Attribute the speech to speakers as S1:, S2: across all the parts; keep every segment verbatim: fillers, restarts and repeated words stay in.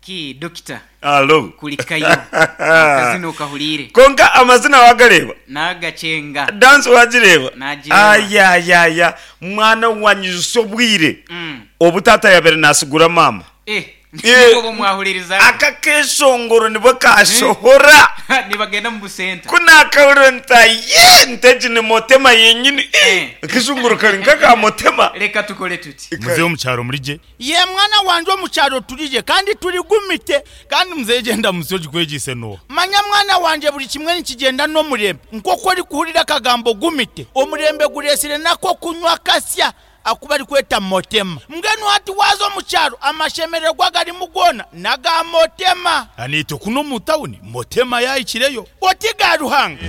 S1: Ki dokita
S2: Alo.
S1: Kulikayo akazina okahuriire.
S2: Kwonka amazina wagareeba?
S1: Nagakyenga.
S2: Dance wagireeba?
S1: Nagireeba.
S2: Ayayaya mwana wanyijutsya obwire
S1: Mm.
S2: obu taata yabaire nasigura maama.
S1: Eh,
S2: Eh,
S1: nibwo bumwahuririza.
S2: Aka keshongoro nibwo kashohora.
S1: Nibagenda mu busenta.
S2: Ku nakahurira nti aye nti egi ni motema yenyini.
S1: Eh.
S2: Eh, Akeshongoro kari nk'aka motema.
S1: Reka tukore tuti.
S3: Muzehe omukyaro muri gye?
S4: Ye mwana wangye, omu kyaro turije kandi turi gumite.
S3: Kandi muzehe, gyenda musi ogikwegyise n'oha?
S4: Manya mwana wangye, buri kimwe nikigyenda n'omurembe. Nk'oku orikuhurira akagambo gumite, omurembe gureesire nako kunywa kasya aku barikweta motema. Mbwenu hati waaza omu kyaro, amashemererwa garimu goona n'aga motema.
S3: Aniitwe kuno omu tawuni motema yahikireyo.
S4: Oti ga Ruhanga.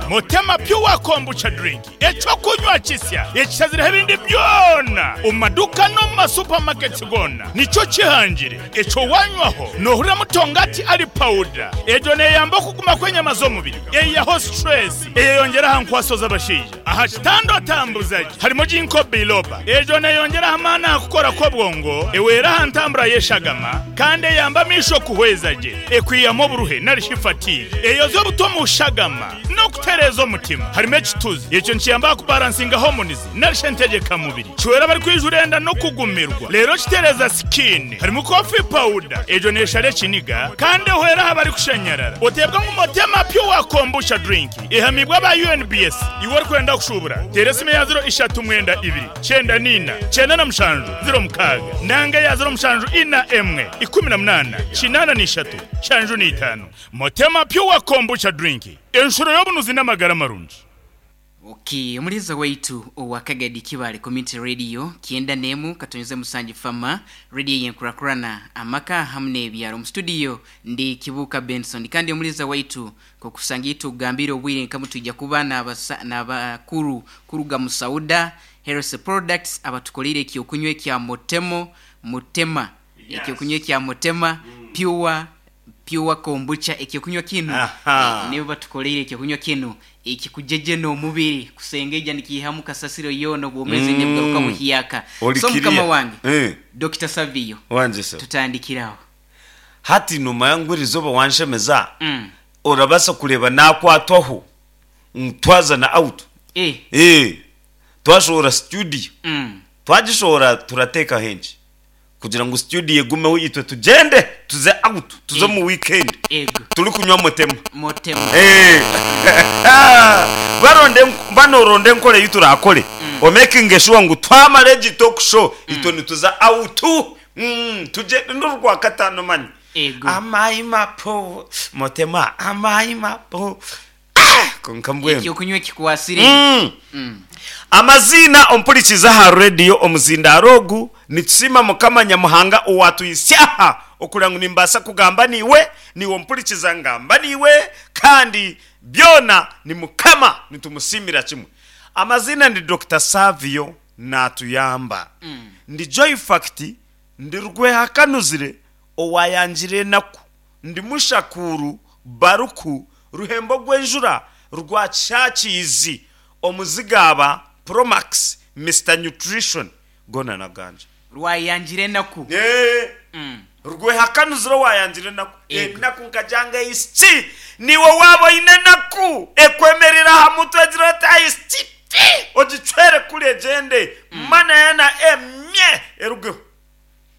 S3: Motema Pure Kombucha Drink, ekyokunywa kisya ekishazireho ebindi byona omu maduuka n'omu masupamaketi goona, nikyo kihangire. Ekyo wanywaho noohurira mutongati ari pawuda. Egyo neeyamba okuguma kw'enyama z'omubiri, eihaho stress, eyeyongyera aha nkwaso z'abashaija, aha kitanda otambuza gye. Harimu ginkgo biloba, egyo neeyongyera amaani aha kukora kw'obwongo, ewera aha ntambura y'eshagama, kandi eyamba amaisho kuhweza gye, ekwihamu oburuhe narishi fatigue, eyoza obuto mu shagama n'okutereeza omutima. Harimu ekituzi, ekyo nikiyamba aha kubalansinga hormones narishi entegyekamubiri, kiwera abarikwijura enda n'okugumirwa, reero kitereeza skin. Harimu coffee powder, egyo neeshara ekiniga kandi ehwera aha barikushanyarara. Oteebwa ngu Motema Pure Kombucha Drink ehamibwa aba U N B S. Iwe orikwenda kushubura, teera esimu ya ziro ishatu mwenda ibiri kyenda niina kyenda na mushanju ziro mukaaga nanga ya ziro mushanju ina emwe ikumi na munaana kinaana n'ishatu nshanju n'itaano. Motema Pure Kombucha Drink, enshuro y'obunuzi n'amagara marungi.
S1: Okay, omuliza waitu owa Kagadi Kibale Community Radio kyenda nemu katonyeze musanji fama radio yenkurakurana amaka hamwe n'ebyaro. Mu studio ndi Kibuka Benson, kandi omuliza waitu kokusangira tugambire obwire nkamu tujja kuba n'abasa- n'abakuru kuruga mu Sauda Health Products abatukolire ekyokunywa ekya Motemo Mutema, ekyokunywa ekya Motema Pure Pure Kombucha. Ekyokunywa kinu
S2: Aha.
S1: eh, nibo batukoleire ekyokunywa kinu ekikujeje n'omubiri kusengeja, nikihamu kasasiro yoona, obwomezi mm. nebugaruka buhiyaka.
S2: Oli
S1: So mukama
S2: kiriya.
S1: wange,
S2: Eh.
S1: Doctor Savio,
S2: Wanje se.
S1: tutandikiraho.
S2: Hati nomanya ngu eriizooba wanshemeza,
S1: mm.
S2: orabasa kureeba nakwatwaho twazana out.
S1: eh.
S2: Eh, twashohora studio,
S1: mm.
S2: twagishohora turateeka hengi kugira ngu studio egumeho, itwe tugyende tuze out, tuze mu weekend
S1: Ego.
S2: turi kunywa motema.
S1: Motema.
S2: Eh. baronde banoronde enkora ei turakore omakinge sure ngu twamara egi talk show, itwe nituza out. Mm, tugende n'orwa kataano manya.
S1: Ego.
S2: Amayi mapo motema, amayi mapo. Ah, konka mbwenu
S1: Ekyokunywa ekikwasire.
S2: Mm.
S1: mm.
S2: Amazina ompurikiza aha rediyo omuzindaaro ogu, nitusiima Mukama Nyamuhanga owatuyisyaha okurira ngu nimbaasa kugamba niiwe, niiwe ompurikiza ngamba niiwe, kandi byona ni Mukama, nitumusiimira kimwe. Amazina ndi Doctor Savio natuyamba.
S1: Mm.
S2: Ndi Joy Fact, ndi Rwehakanuzire owayangire enaku, ndi mushakuru baruku ruhembo rw'enjura rwa Kyakiizi omuzigaba Promax Mister Nutrition gona naganja.
S1: Rwayangire enaku.
S2: Eh,
S1: mm.
S2: Rwehakanuzire owayangire enaku.
S1: Ego.
S2: Enaku nkajanga isiki, niwe waaba oine enaku ekwemerera aha mutwe egira oti aisiki ti ogicwere kuri egyende mana yana emye erugeho.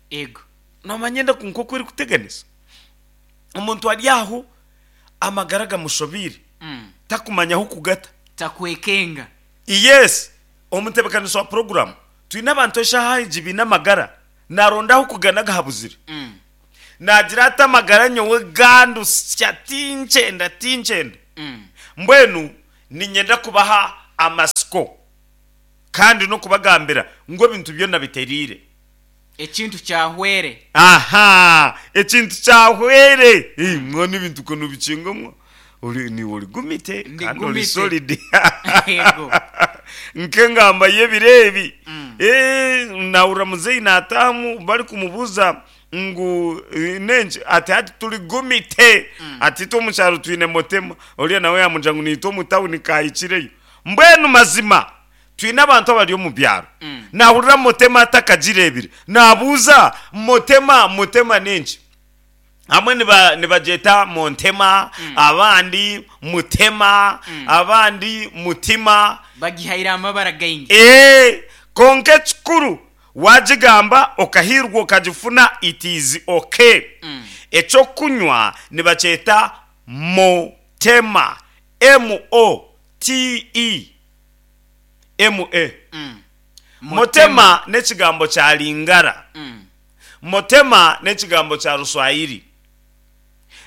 S1: Ego.
S2: Nomanya endaku nk'oku erikuteganisa omuntu ari aho, amagara gamushobiire,
S1: mm.
S2: takumanyaho kugata.
S1: Takwekenga.
S2: Yes, omutebekanisi wa poroguramu, twine abantu eshaaha egi biine amagara narondaho kugana gahabuzire.
S1: mm.
S2: Nagira ati amagara nyowe gandusya, tinkyenda, tinkyenda.
S1: Mm.
S2: Mbwenu ninyenda kubaha amasiko kandi n'okubagambira ngu ebintu byona biteriire.
S1: Ekintu kyahwere.
S2: Aha, ekintu kyahwere. Eh, mwana, ebintu kono bikingamwo ori ni ori gumite
S1: Ndi
S2: kandi ori
S1: gumite.
S2: solid.
S1: Yego.
S2: Nk'engamba y'ebiro ebi.
S1: Mm.
S2: Eh, nahurira muzeyi natamu bari kumubuza ngu eh, nenki, ati hati turi gumite, ati itwe omu kyaro twine motema, oriya nawe yamugira ngu niitwe omu tawuni kahikireyo. Mbwenu mazima Twine abantu abari omu byaro, nahurira Motema atakagireebire, nabuuza Motema, Motema n'enki? Hamwe niba nibagyeta Montema, abandi Mutema, abandi Mutima.
S1: Bagihaire amabara gaingi.
S2: Ee, konka ekikuru wagigamba okahiirwa okagifuna, it is okay. Ekyokunywa nibakyeta Motema, M O T E M A. Motema n'ekigambo kya Lingara. Motema n'ekigambo kya Ruswahili,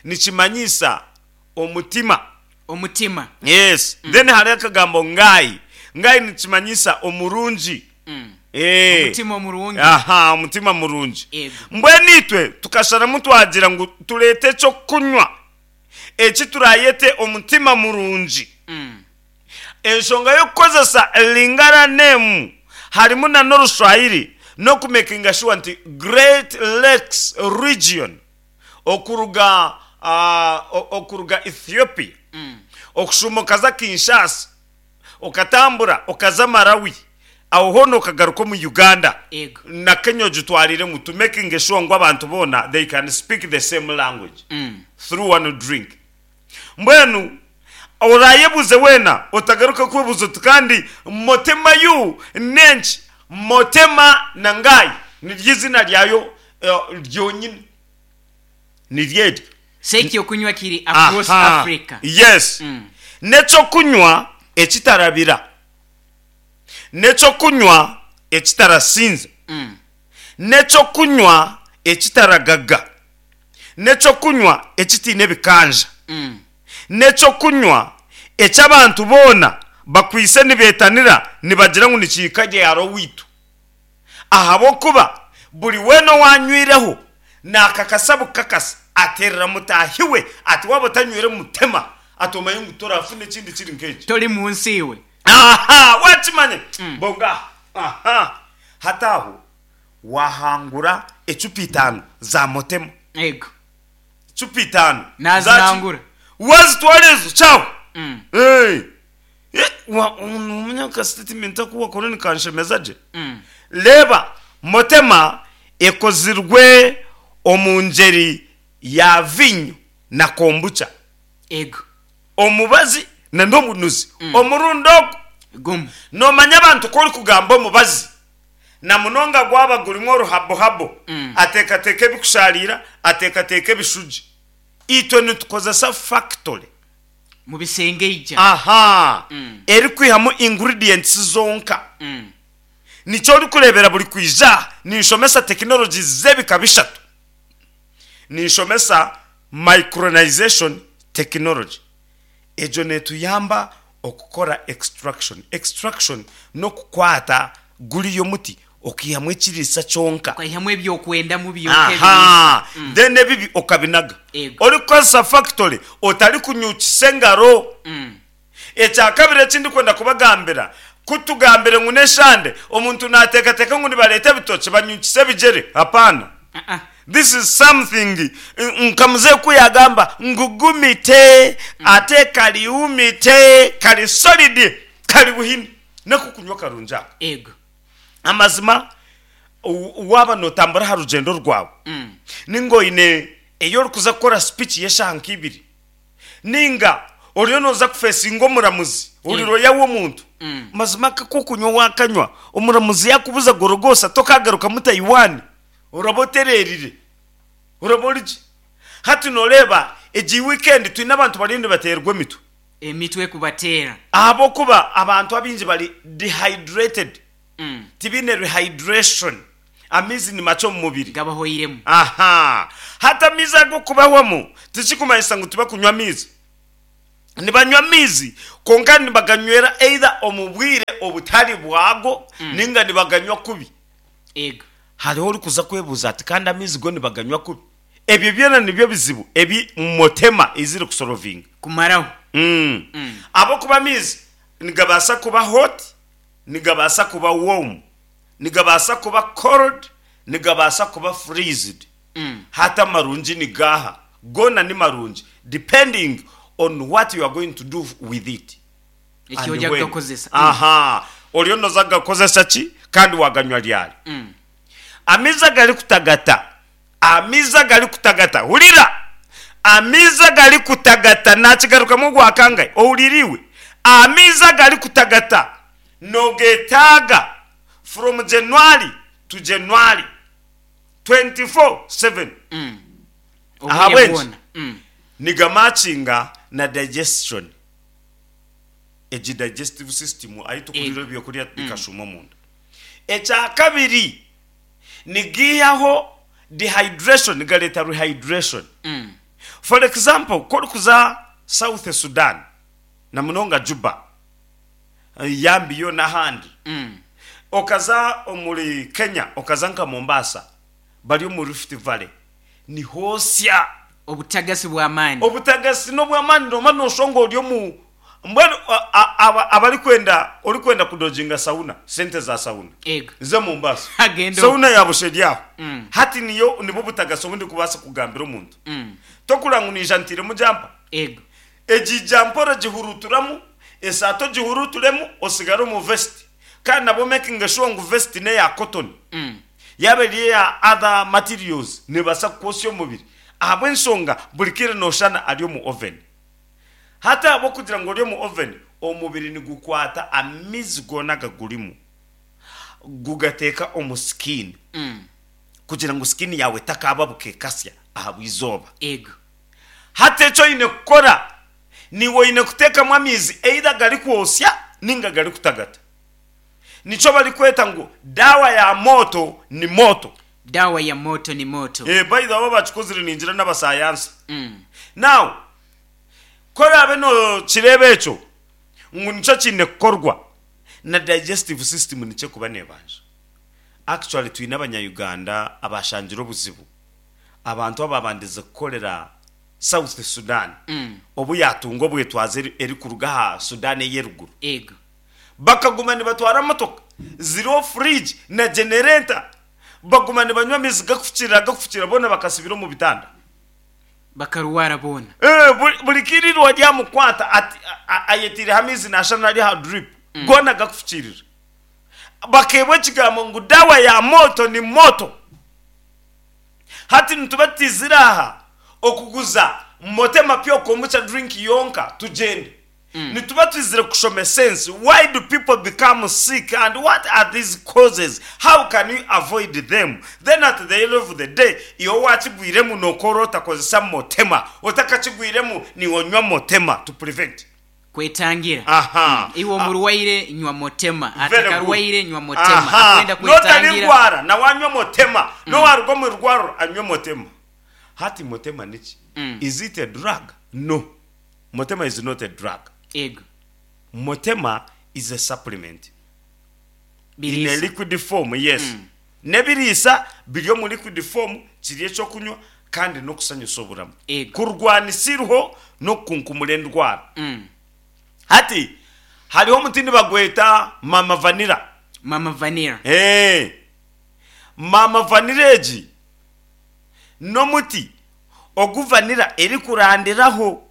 S2: nikimanyisa omutima.
S1: Omutima.
S2: Yes. Then hariho akagambo ngai. Ngai nikimanyisa omurungi. Eh.
S1: Omutima omurungi.
S2: Aha, omutima murungi.
S1: Ego.
S2: Mbwenu itwe tukasharamu twagira ngu tureete ekyokunywa eki turayete omutima murungi. Enshonga y'okukozesa Lingara name harimu na n'Oruswahili n'okumakinga sure nti Great Lakes Region, okuruga uh, okuruga Ethiopia, okushuma okaza Kinshasa, okatambura okaza Malawi, aho hoona okagaruka omu Uganda
S1: Ego.
S2: na Kenya ogitwariremu, to making sure ngu abantu boona they can speak the same language through one drink. Mbwenu orayebuze weena, otagaruka kwebuza oti kandi Motema yu nenki? Motema na ngai niryo izina ryayo eh, ryonyine niryeryo.
S1: Sekyokunywa kiri across
S2: Aha.
S1: Africa.
S2: Yes. N'ekyokunywa ekitarabira, n'ekyokunywa ekitarasinza, n'ekyokunywa ekitaragaga, n'ekyokunywa ekitiine ebikanja, n'ekyokunywa eky'abantu boona bakwise nibeetanira nibagira ngu nikiika gyaro witu, ahabw'okuba buri weena owanywireho nakakasa bukakasa aterera mutahi we ati waba otanywire Mutema, ati omanye ngu torafuna ekindi kiri nk'eki.
S1: Toli munsi iwe.
S2: Aha, wakimanye bonga. Aha, hati aho wahangura ecupa itaano za Motema.
S1: Ego.
S2: Cupa itaano.
S1: Nazinangura.
S2: Wazitwara ezo kyawe.
S1: Mm.
S2: Hey. Eh, wa- nomanya ka statement aku wakora nikanshemeza gye. Reba, Motema ekozirwe omu ngeri ya vinyo na kombucha,
S1: Ego.
S2: omubazi na n'obunuzi omurundi ogwo.
S1: Gumu.
S2: Nomanya abantu ko ori kugamba omubazi na munonga gwaba gurimu oruhabohabo, ateekateeka ebikusharira, ateekateeka ebishugi. Itwe nitukozesa factory
S1: Mu bisenge ija.
S2: Aha, erikwihamu ingredients zonka.
S1: Mm.
S2: Nikyo orikureebera buri kwija ninshomesa tekinologi z'ebika bishatu. Ninshomesa micronization technology, egyo netuyamba okukora extraction. Extraction n'okukwata guriyo muti okihamu ekiriisa kyonka.
S1: Ukaihamu ebyokwenda mu byonka.
S2: Aha, then ebibi okabinaga.
S1: Ego.
S2: Orikukozesa factory otari kunyukisa engaro. Ekyakabiri ekindi kwenda kubagambira, kutugambire ngu neshande omuntu nateekateeka ngu nibareeta ebitoki banyukisa ebigere. Hapana. This is something nka muzeeyi ku yagamba ngu gumite ate kaliumite, kali solid, kali buhini nekukunywa karungi ako.
S1: Ego.
S2: Amazima w- waaba notambura aha rugendo rwawe, ninga oine eyo orikuza kukora speech y'eshaaha nk'ibiri, ninga oriyo noza kufesinga omuramuzi, ori roya w'omuntu, mazima kakokunywa wakanywa, omuramuzi yakubuza gorogosa tokagarukamu Taiwan, oraba otererire, oraba origi. Hati noreeba egi weekend twine abantu bariyo nibaterwa emitwe.
S1: Emitwe kubateera.
S2: Ahabwokuba abantu abingi bari dehydrated, tibiine rehydration, amaizi ni makye omu mubiri.
S1: Gabahoiremu.
S2: Aha, hati amaizi ago kubahwamu tikikumanyisa ngu tibakunywa amaizi. Nibanywa amaizi, konka nibaganywera either omu bwire obutari bwago, ninga nibaganywa kubi.
S1: Ego.
S2: Hariho orikuza kwebuuza ati kandi amaizi go nibaganywa kubi. Ebyo byona nibyo bizibu ebi Motema iziri kusorovinga.
S1: Kumaraho.
S2: mm. Abokuba amaizi nigabaasa kuba hot, nigabaasa kuba warm, nigabaasa kuba cold, nigabaasa kuba freezed. Hati amarungi ni gaha? Gona ni marungi depending on what you are going to do with it.
S1: Ekyoja
S2: And when.
S1: kugakozesa.
S2: Aha. Oriyo noza kugakozesa ki kandi waganywa ryari?
S1: Mm.
S2: Amaizi agarikutagata, amaizi agarikutagata, hurira, amaizi agarikutagata, nakigarukamu ogwakangahi, ohuriire iwe? Amaizi agarikutagata nogetaaga from January to January twenty four seven.
S1: Mm. Obwire
S2: Ahabw'enki?
S1: bwona. Mm.
S2: Nigamakinga na digestion, egi digestive system ahi tukurira
S1: Ego.
S2: ebyokurya bikashuma omunda. Ekyakabiri, nigiihaho dehydration, nigareeta rehydration.
S1: Mm.
S2: For example, ku orikuza South Sudan na munonga Juba, Yambio n'ahandi,
S1: Mm.
S2: okaza omuri Kenya, okaza nka Mombasa, bari omu Rift Valley, nihoosya.
S1: Obutagasi bw'amaani.
S2: Obutagasi n'obw'amaani, noba nooshusha ngu ori omu mbwenu a- a- aba- abarikwenda orikwenda kudoginga sauna, sente za sauna.
S1: Ego.
S2: Ze Mombasa.
S1: Agende.
S2: Sauna ya busheri aho.
S1: Mm.
S2: Hati niyo nibwo butagasi obu ndikubaasa kugambira omuntu.
S1: Mm.
S2: Tokurora ngu naija ntairemu jampa.
S1: Ego.
S2: Egi jampa oragihuruuturamu, esaato ogihuruuturemu, osigare omu vest. Kandi nabwo making sure ngu vest n'eya cotton.
S1: Mm.
S2: Yaaba eri eya other materials neebaasa kukwosya omubiri. Ahabw'enshonga buri kaire nooshana ari omu oven. Hati ahabw'okugira ngu ori omu oven, omubiri nigukwata amaizi goona agagurimu gugateeka omu skin
S1: Mm.
S2: kugira ngu skin yaawe etakababuka ekasya ahabw'eizooba.
S1: Ego.
S2: Hati eki oine kukora, niiwe oine kuteekamu amaizi either agarikwosya ninga agarikutagata. Nikyo barikweta ngu dawa ya moto ni moto.
S1: Dawa ya moto ni moto.
S2: Eh, by the way, abakikozire ningira n'abasayansa.
S1: Mm.
S2: Now, ku oraabe nookireeba ekyo ngu nikyo kiine kukorwa, na digestive system nikyo erikuba neebanja. Actually twine abanya-Uganda abashangire obuzibu, abantu ababandize kukorera South Sudan,
S1: Mm.
S2: obu yaatunga obwetwaze eri- erikuruga aha Sudan ey'eruguru.
S1: Ego.
S2: Bakaguma nibatwara motoka ziriho fridge na generator, baguma nibanywa amaizi gakufukirira gakufukirira, boona bakasibira omu bitanda.
S1: Bakarwara boona.
S2: Eh, buri- buri kirirwa ryamukwata ati a- a- ayetiireho amaizi naashana ari aha drip goona gakufukirira. Bakeebwa ekigambo ngu dawa ya moto ni moto. Hati nituba tutizire aha okuguza Motema Pure Kombucha drink yonka tugyende. Nituba twizire kushoma sense. Why do people become sick and what are these causes? How can you avoid them? Then at the end of the day, iwe wakigwiremu nokora otakozesa Motema, otakakigwiremu niwonywa Motema to prevent.
S1: Kwetangira.
S2: Aha.
S1: Iwe omurwaire nywa Motema,
S2: Very good.
S1: atakarwaire nywa Motema.
S2: Aha.
S1: Akwenda kwetangira.
S2: Notarigwara nawe anywe Motema, nowaruga omu rwariro anywe Motema. Hati Motema niki?
S1: Mm.
S2: Is it a drug? No, Motema is not a drug.
S1: Ego.
S2: Motema is a supplement in a
S1: Biriisa.
S2: liquid form. Yes, n'ebiriisa biri omu liquid form, kiri ekyokunywa kandi n'okusanyusa oburamu,
S1: Ego.
S2: kurwanisa iruho n'okukunkumura endwara.
S1: Mm.
S2: Hati hariho omuti nibagweta mama vanilla.
S1: Mama vanilla.
S2: Hey. Mama vanilla egi n'omuti ogu vanilla erikurandiraho.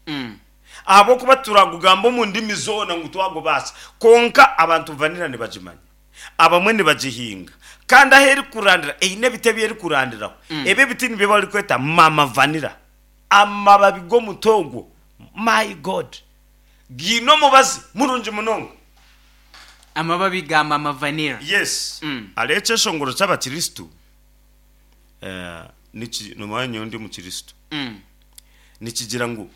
S1: Mm.
S2: Ahabw'okuba turagugamba omu ndimi zoona ngu twagubaasa, konka abantu vanilla nibagimanya, abamwe nibagihinga, kandi ahu erikurandira eine ebiti ebi erikurandiraho. Ebi ebiti nibyo barikweta mama vanilla. Amababi g'omuti ogwo, my God, giine omubazi murungi munonga.
S1: Amababi ga mama vanilla.
S2: Yes.
S1: Mm.
S2: Hariho ekyeshongoro ky'abakristu, eh, niki- nomanya nyowe ndi omukristu,
S1: Mm.
S2: nikigira ngu